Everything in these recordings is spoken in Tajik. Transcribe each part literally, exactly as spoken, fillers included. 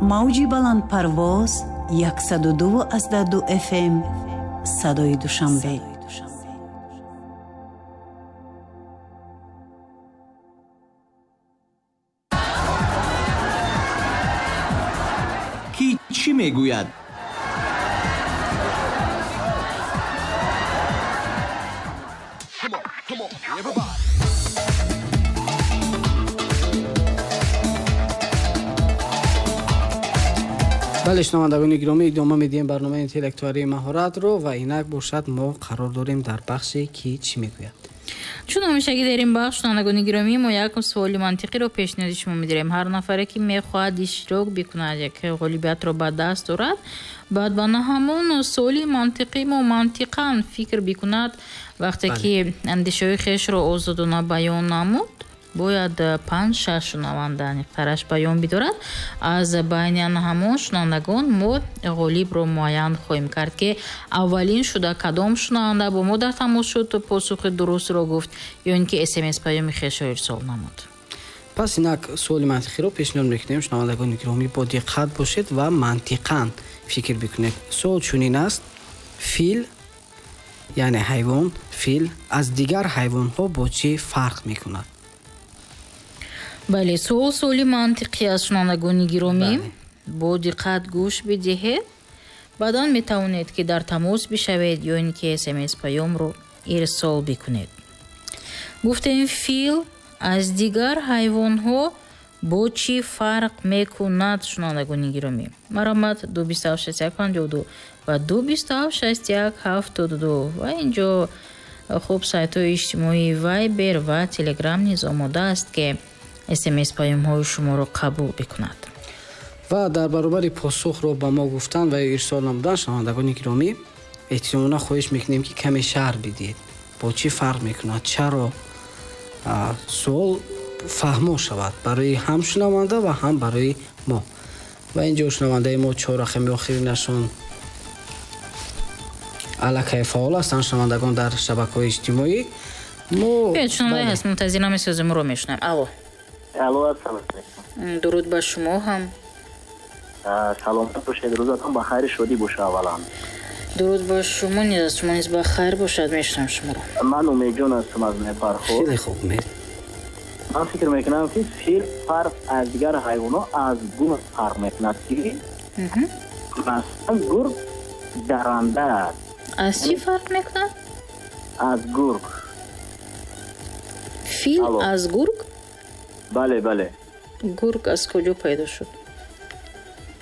Мавҷи баландпарвоз яксаду ду аз ду эф эм садои Душанбе. Ки чӣ мегӯяд? Бале, шунавандагони гиромӣ, идома медиҳем барномаи интеллектуалии маҳоратро ва инак бошад мо қарор дорем дар бахше ки чӣ мегӯяд. Чун ҳамешагӣ дар ин бахш, шунавандагони гиромӣ, мо як суоли мантиқиро пешниҳоди шумо медиҳем. Ҳар нафаре ки мехоҳад иштирок бикунад, як ғолибиятро ба даст дорад, баъд ба на ҳамон суоли мантиқӣ мо мантиқан фикр бикунад. Вақте ки андешаҳои хешро озодона баён намуд, бояд панҷ шаш шунаванда аниқтараш баён бидорад. Аз байни ҳамон шунавандагон мо ғолибро муайян хоҳем кард, ки аввалин шуда кадом шунаванда бо мо дар тамос шуд, посухи дурустро гуфт ё ин ки смс паёми хешро ирсол намуд. Пас инак суоли мантиқиро пешниҳод мекунем. Шунавандагони гиромӣ, бо диққат бошед ва мантиқан фикр бикунед. Суол чунин аст: фил, яъне ҳайвон, фил аз дигар ҳайвонҳо бо чӣ фарқ мекунад? Бале, суол суоли мантиқӣ аст, шунавандагони гиромӣ. Бо диққат гӯш бидиҳед. Баъдан метавонед ки дар тамос бишавед ё ин ки смс паёмро ирсол бикунед. Гуфтем, фил аз дигар ҳайвонҳо бо чӣ фарқ мекунад, шунавандагони гиромӣ? Маромад ду бисту ҳафт шасту як панҷоҳу ду ва ду бисту ҳафт шасту як ҳафтоду ду ва инҷо хуб сайтҳои иҷтимоии Вайбер ва Телеграм низ омода аст ки смс паёмҳои шуморо қабул бикунад. Ва дар баробари посухро ба мо гуфтан ва ирсол намудан, шунавандагони гиромӣ, эҳтиёмона хоҳиш мекунем ки каме шарҳ бидиҳед, бо чӣ фарқ мекунад, чаро суол фаҳмо шавад барои ҳам шунаванда ва ҳам барои мо. Ва инҷо шунавандаи мо чор рақами охиринашон аллакай фаъол ҳастанд, шунавандагон дар шабакаҳои иҷтимоӣ. Мо шунавандаи ҳаст, мунтазир намесозем, ро мешунавем. Алло. Алло, ассалому алайкум. Дуруд ба шумо ҳам. Саломат бошед, рӯзатон ба хайр шодӣ бошад аввалан. Дуруд ба шумо низ, шумо низ ба хайр бошад, мешунавам шуморо. Ман Умедҷон ҳастам аз Мепархор. Хеле хуб, Умед. Ман фикр мекунам ки фил фарқ аз дигар ҳайвонҳо аз гург фарқ мекунад, ки масалан гург даранда аст. Аз чӣ фарқ мекунад? Аз гург. Фил аз гург? Бале, бале. Гург аз куҷо пайдо шуд?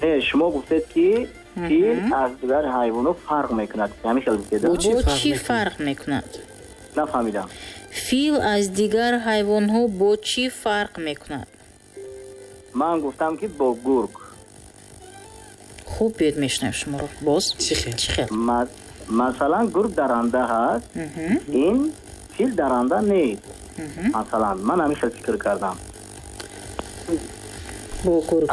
Не, шумо гуфтед ки фил аз дигар ҳайвонҳо фарқ мекунад. Ҳамин хел гуфтед? Бо чӣ фарқ мекунад? Нафаҳмидам. Фил аз дигар ҳайвонҳо бо чӣ фарқ мекунад? Ман гуфтам ки бо гург. Хуб, биёед мешунавем шуморо. Боз чӣ хел? Чӣ хел? Масалан, гург даранда ҳаст, ин фил даранда нест. Масалан, ман ҳамин хел фикр кардам. Бо гург,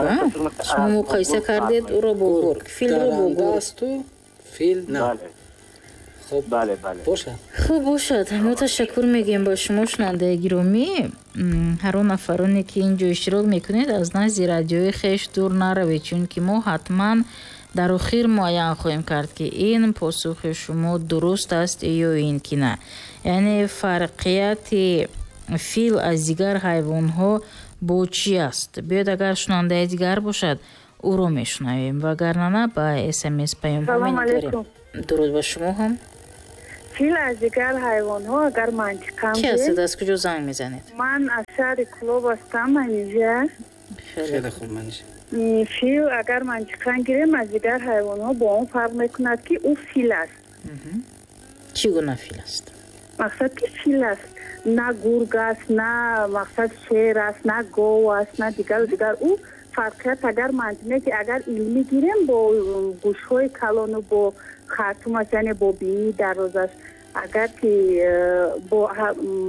шумо муқоиса кардед ӯро бо гург, филро бо гург. Асту фил на. Хуб, бале, бале. Бошад. Хуб бошад. Мо ташаккур мегӯем ба шумо, шунавандаи гиромӣ. Ҳар он нафароне ки инҷо иштирок мекунед, аз назди радиои хеш дур наравед, чунки мо ҳатман дар охир муайян хоҳем кард ки ин посухи шумо дуруст аст ё ин ки на. Яъне фарқияти фил аз дигар ҳайвонҳо бо чӣ аст? Биёед агар шунавандаи дигар бошад, ӯро мешунавем, вагарна на ба смс паёмҳо менигарем. Дуруд ба шумо ҳам. Фил аз дигар ҳайвонҳо агар мантиқан Ки ҳастед, аз куҷо занг мезанед? Ман аз шаҳри Кӯлоб ҳастам, Манижа. Хеле хуб, Манижа. Фил агар мантиқан гирем, аз дигар ҳайвонҳо бо он фарқ мекунад ки ӯ фил аст. Чӣ гуна фил аст? Мақсад ки фил аст, на гург аст, на мақсад шер аст, на гов аст, на дигару дигар. Ӯ фарқият агар мантиқе ки агар илмӣ гирем, бо гӯшҳои калону бо хартумаш, яъне бо бинии дарозаш, агар ки бо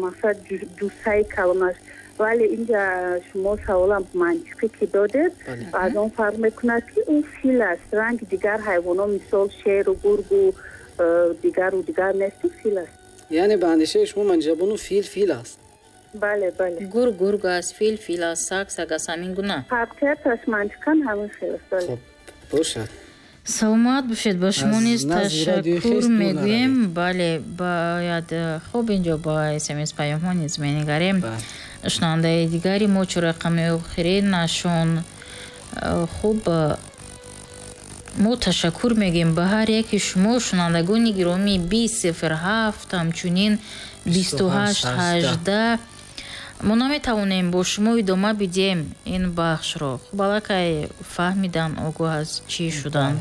мақсад ҷуссаи калонаш. Вале инҷа шумо саволам мантиқӣ ки додед, аз он фарқ мекунад ки ӯ фил аст. Ранги дигар ҳайвонҳо, мисол шеру гургу дигару дигар нест, ӯ фил аст. Яъне ба андешаи шумо, Манижабону, фил фил аст? Бале, бале. Гург гург аст, фил фил аст, саг саг аст, ҳамин гуна. Фарқияташ мантиқан ҳамин хел аст. Бале. Хуб, бошад. Саломат бошед, ба шумо низ ташаккур мегӯем. Бале, бояд хуб инҷо ба смс паёмҳо низ менигарем. Шунавандаи дигари мо чор рақами охиринашон хуб мо ташаккур мегӯем ба ҳар яки шумо шунавандагони гиромӣ. Бист сифр ҳафт, ҳамчунин бисту ҳашт ҳаждаҳ. Мо наметавонем бо шумо идома бидиҳем ин бахшро. Хуб, аллакай фаҳмидан, огоҳ аз чӣ шуданд.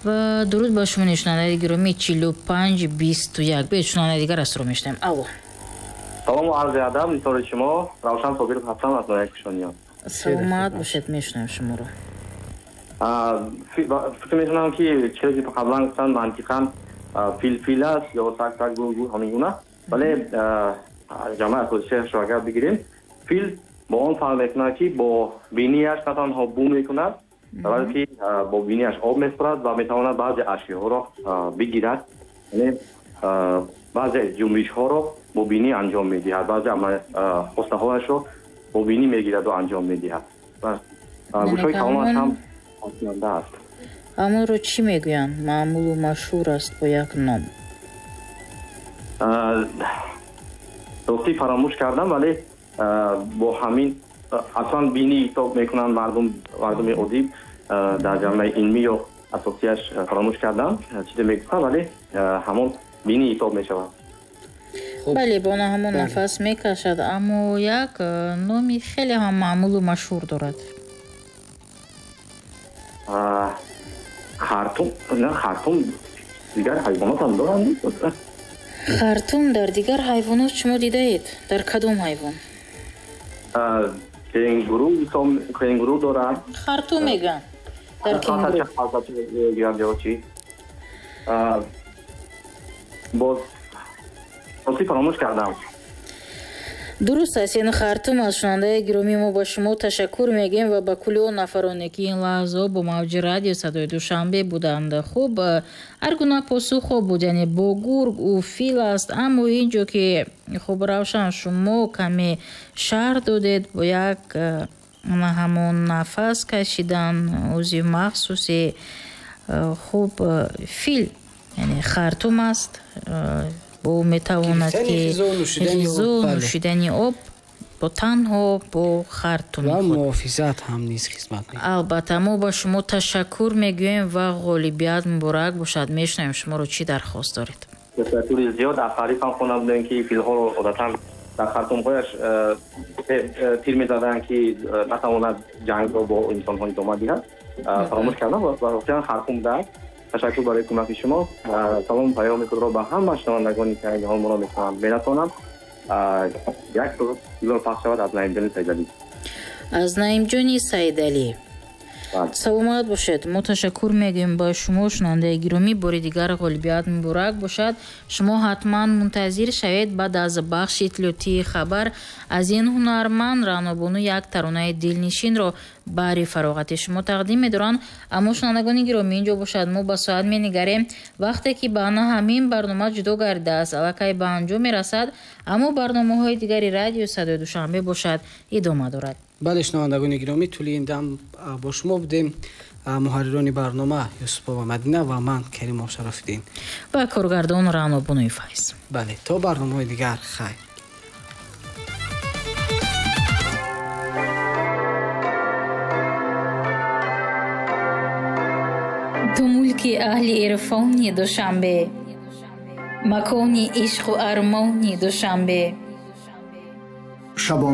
Ва дуруд ба шумо шунавандаи гиромӣ. Чилу панҷ бисту як. Биёед шунавандаи дигар астро мешунавем. Алло. Салому арзи адаб, нисори шумо Равшан Собиров ҳастам аз ноҳияи Кушониён. Саломат бошед, мешунавем шуморо. Фикр мекунам ки чизе ки қаблан гуфтанд мантиқан фил фил аст ё саг саг, гург гург, ҳамин гуна. Вале ҷамъи асосияшро агар бигирем, фил бо он фарқ мекунад ки бо бинияш на танҳо бӯ мекунад, балки бо бинияш об меспорад ва метавонад баъзе ашёҳоро бигирад, яъне баъзе ҷунбишҳоро бо бинӣ анҷом медиҳад, баъзе хостаҳояшро бо бинӣ мегираду анҷом медиҳад. Гӯшҳои калонаш ҳам осиёнда аст. Ҳамонро чӣ мегӯянд? Маъмулу машҳур аст бо як ном. Ростӣ фаромӯш кардам, вале бо ҳамин аслан бинӣ ҳисоб мекунанд мардум, мардуми оддӣ дар ҷамъияи илмӣ ё асосияш фаромӯш кардам чизе мегуфтам, вале ҳамон бинӣ ҳисоб мешавад. Бале, бо на ҳамон нафас мекашад, аммо як номи хеле ҳам маъмулу машҳур дорад. Хартум, на хартум дигар ҳайвонот ҳам доранд? Хартум дар дигар ҳайвонот шумо дидаед? Дар кадом ҳайвон? Кенгуру, кенгуру дорад. Хартум мегӯянд. Дар кенгуру. Боз ростӣ фаромӯш кардам. Дуруст аст, ин хартум аз шунавандаи гиромии мо ба шумо ташаккур мегӯем ва ба кулли он нафароне ки ин лаҳзаҳо бо мавҷи радио садои Душанбе буданд. Хуб, ҳар гуна посухҳо буд, яъне бо гург ӯ фил аст, аммо инҷо ки хуб Равшан шумо каме шарҳ додед бо як ҳамон нафас кашидан узви махсуси хуб фил, яъне хартум аст, бо метавонад ки ғизо, нӯшидани об бо танҳо бо хартуми ва худ. Муҳофизат ҳам низ хизмат мекунад. Албатта, мо ба шумо ташаккур мегӯем ва ғолибият муборак бошад. Мешунавем шуморо, чӣ дархост доред? Ташаккури зиёд. Аз таъриф ҳам хонда будем ки филҳоро одатан дар хартумҳояш тир мезаданд ки натавонад ҷангро бо инсонҳо идома диҳад. Фаромӯш кардам ва воқеан хартум будааст. Ташаккур барои кӯмаки шумо. Салом паёми худро ба ҳама шунавандагоне ки айни ҳол моро мешунаванд мерасонам. Як суруд пахш шавад аз Наимҷони Саидалӣ. Аз Наимҷони Саидалӣ. Саломат бошед. Мо ташаккур мегӯем ба шумо шунавандаи гиромӣ. Бори дигар ғолибият муборак бошад. Шумо ҳатман мунтазир шавед баъд аз бахши иттилоотии хабар аз ин ҳунарманд Раънобону як таронаи дилнишинро баҳри фароғати шумо тақдим медоранд. Аммо шунавандагони гиромӣ, инҷо бошад мо ба соат менигарем. Вақте ки ба на ҳамин барнома ҷудо гардидааст, аллакай ба анҷом мерасад, аммо барномаҳои дигари радио садои Душанбе бошад идома дорад. Бале, шунавандагони гиромӣ, тӯли ин дам бо шумо будем муҳаррирони барнома Юсупова Мадина ва ман Каримов Шарофиддин ва коргардон Раънобонуи Файз. Бале, то барномаҳои дигар хайр. Ту мулки аҳли ирфони Душанбе, макони ишқу армони Душанбе. Шабон